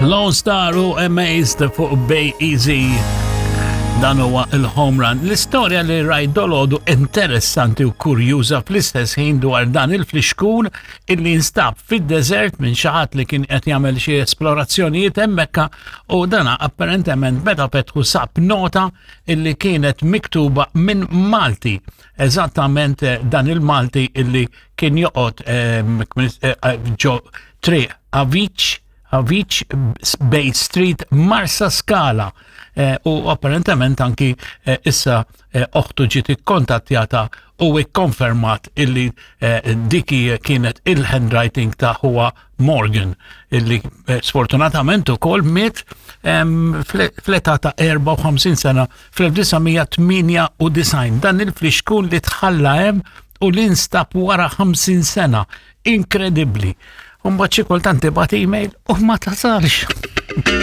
Lone Star u Amazed fuq Bay Easy. Dan huwa il-home run. L-istorja li rajt dolodu interessanti u kurjuża fl-istess ħin dwar dan il-flixkun illi instab fid-deżert minn xi ħadd li kien qed jagħmel xi esplorazzjonijiet hemmhekk u dana apparentement meta fetħu sab nota illi kienet miktuba minn Malti. Eżattament eh, dan il-Malti illi kien joqgħod ehm, eh, eh, ġo triq Avic Avic Bay Street Marsa Scala u apparentement anki issa oħtu ġiet ikkontattjata u ikkonfermat illi diki kienet il-handwriting ta' huwa Morgan illi sfortunatament ukoll miet ehm, fl-età ta' 54 sena fl-1998. Dan il-flixkun li tħalla hemm u li nstab wara 50 sena. Inkredibbli. Umbagħad xi kultant tibgħat email u ma tasalx.